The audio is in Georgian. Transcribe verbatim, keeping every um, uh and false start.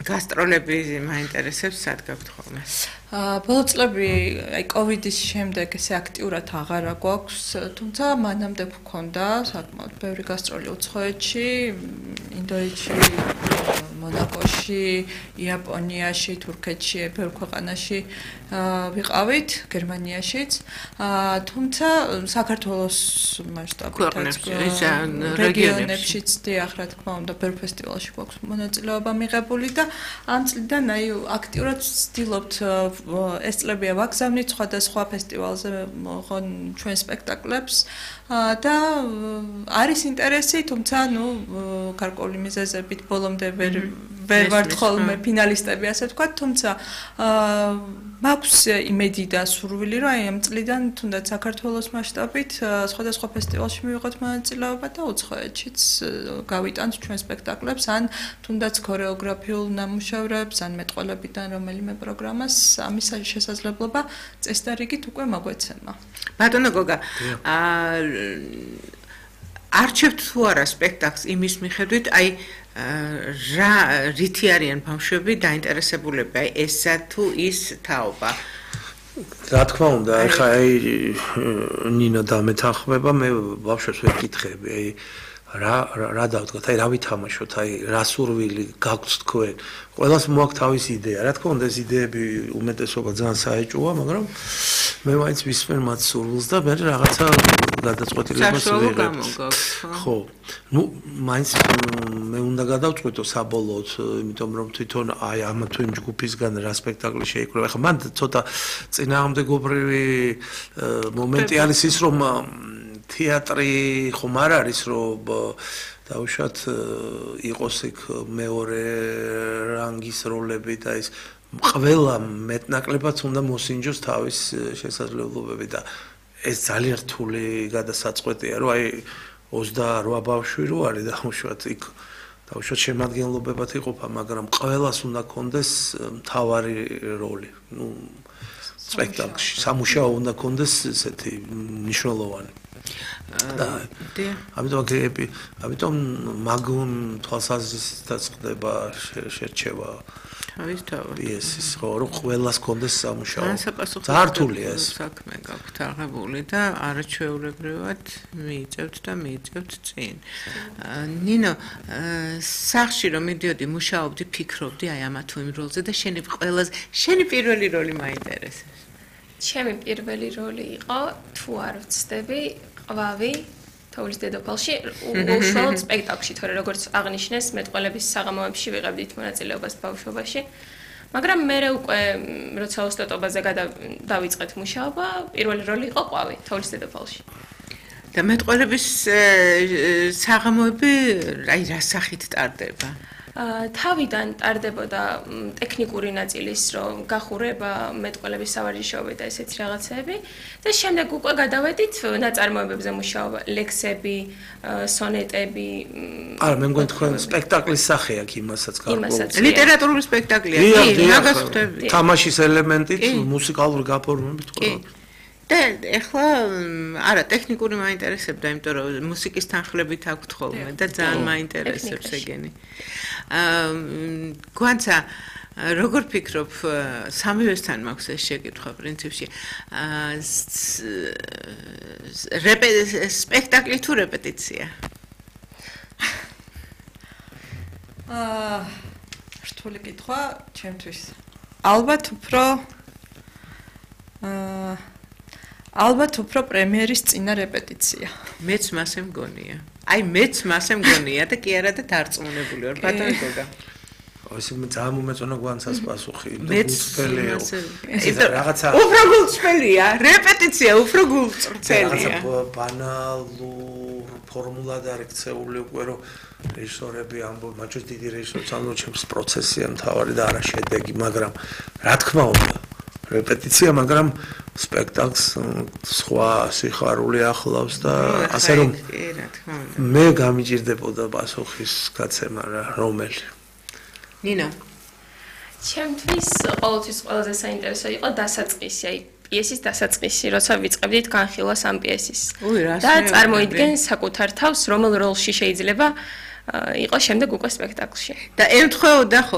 გასტროლები მაინტერესებს სად გაქვთ ხოლმე? ბოლო წლები აი კოვიდის შემდეგ ესე აქტიურად აღარა გვაქვს, თუმცა მანამდე გვქონდა საკმაოდ ბევრი გასტროლი უცხოეთში, ინდოეთში, მონაკოში, იაპონიაში, თურქეთში, ბევრ ქვეყანაში ვიყავით, გერმანიაშიც. თუმცა საქართველოს მასშტაბით რეგიონებშიც დიახ, რა თქმა უნდა, ბევრ ფესტივალში გვაქვს მონაწილეობა მიღებული და ამ წლიდან აი აქტიურად ვცდილობთ ეს წლებია ვაგზავნით სხვადასხვა ფესტივალზე მოღონ ჩვენ სპექტაკლებს და არის ინტერესი, თუმცა ნუ გარკვეული მიზეზებით ბოლომდე ვერ ვერ ვართ ხოლმე ფინალისტები, ასე ვთქვათ, თუმცა მაქვს იმედი და სურვილი, რომ აი ამ წლიდან თუნდაც საქართველოს მასშტაბით სხვადასხვა ფესტივალში მივიღოთ მონაწილეობა და უცხოეთშიც გავიტანთ ჩვენ სპექტაკლებს, ან თუნდაც ქორეოგრაფიულ ნამუშევრებს, ან მეტყველებიდან რომელიმე პროგრამას ამის შესაძლებლობა წესდარიგით უკვე მოგვეცემა. ბატონო გოგა, არჩევთ თუ არა სპექტაკლს იმის მიხედვით, აი რა რითი არიან ბავშვები დაინტერესებულები, აი ესა თუ ის თაობა? რა თქმა უნდა, ახლა აი ნინო დამეთანხმება, მე ბავშვებს ვეკითხები, აი რა რა დავდგათ, აი რა ვითამაშოთ, აი რა სურვილი გაგვთ თქვენ? ყველას მოაქვს თავისი იდეა. რა თქმა უნდა, ეს იდეები უმეტესობა ძალიან საეჭვოა, მაგრამ მე მაინც ვისმენ მათ სურვილს და მე რაღაცა გადაწყვეტილებას ვიღებ. ხო. ნუ მაინც მე უნდა გადავწყვეტო საბოლოოდ, იმიტომ რომ თვითონ აი ამ თუ იმ ჯგუფისგან რა სპექტაკლი შეიკრება. ახლა მან ცოტა წინააღმდეგობრივი მომენტი არის ის, რომ თეატრი ხომ არ არის, რომ დაუშვათ იყოს იქ მეორე რანგის როლები და ის ყველა მეტნაკლებად უნდა მოსინჯოს თავის შესაძლებლობები და ეს ძალიან რთული გადასაწყვეტია, რომ აი ოცდაორი ბავშვი რო არის დაუშვათ იქ დაუშვათ შემადგენლობებად იყოფა, მაგრამ ყველას უნდა კონდეს მთავარი როლი. ნუ სპექტაკლში სამუშაო უნდა კონდეს ესეთი მნიშვნელოვანი. ამიტომ გეები, ამიტომ მაგ თვალსაზრისითაც ხდება შერჩევა პიესის, ხო, რომ ყველას კონდეს სამუშაო. ძალიან რთულია ეს საქმე გაქვთ აღებული და არაჩვეულებრივად მიიწევთ და მიიწევთ წინ. ნინო, სახში რომ მიდიოდი, მუშაობდი, ფიქრობდი აი ამა თუ იმ როლზე და შენი ყველაზე შენი პირველი როლი მაინტერესებს. ჩემი პირველი როლი იყო, თუ არ ვცდები, ყვავი თოვლის დედოფალში, უშუალოდ სპექტაკლში, თორე როგორც აღნიშნეს, მეტყველების საღამოებში ვიღებდით მონაწილეობას ბავშვობაში. მაგრამ მე უკვე როცა ოსტატობაზე დავიწყეთ მუშაობა, პირველი როლი იყო ყვავი თოვლის დედოფალში. და მეტყველების საღამოები აი რა სახით ტარდება? თავიდან ტარდებოდა ტექნიკური ნაწილის რომ გახურება მეტყველების სავარჯიშოები და ესეც რაღაცები და შემდეგ უკვე გადავედით ნაწარმოებებზე მუშაობა, ლექსები, სონეტები. არა, მე მგონი თქვენ სპექტაკლის სახე აქვს იმასაც გარკვეულ. ლიტერატურული სპექტაკლია, კი, მაგას ხვდები. თამაშის ელემენტით, მუსიკალური გაფორმებით ყველა. და ეხლა არა ტექნიკური მაინტერესებდა, იმიტომ რომ მუსიკის თანხლებით აქვთ ხოლმე და ძალიან მაინტერესებს ეგენი. აა გვანცა როგორ ფიქრობ, სამივესთან მაქვს ეს შეკითხვა პრინციპში. აა სპექტაკლი თუ რეპეტიცია? აა რთული კითხვა ჩემთვის. ალბათ უფრო აა ალბათ უფრო პრემიერის წინა რეპეტიცია. მეც მასე მგონია. აი მეც მასე მგონია და კი არა და დარწმუნებული ვარ, ბატონო გოგა. ეს ძალიან მომეწონა გვანცას პასუხი. მეც რაღაცა უფრო გულწრფელია, რეპეტიცია უფრო გულწრფელია. რაღაცა ბანალურ ფორმულად არიქცეული უკვე რომ რეჟისორები ამბობენ, მაჩვენებს დიდი რეჟისორს, ანუ ჩემს პროცესია მთავარი და არა შედეგი, მაგრამ რა თქმა უნდა რეპეტიცია, მაგრამ სპექტაკლს სხვა სიხარული ახლავს და ასე რომ მე გამიჭირდებოდა პასუხის გაცემა რა, რომელი. ნინო, ჩემთვის ყოველთვის ყველაზე საინტერესო იყო დასაწყისი, აი პიესის დასაწყისი, როცა ვიწყებდით განხილვას ამ პიესის. და წარმოიდგენ საკუთარ თავს, რომელ როლში შეიძლება იყო შემდეგ უკვე სპექტაკლში. და ემთხვეოდა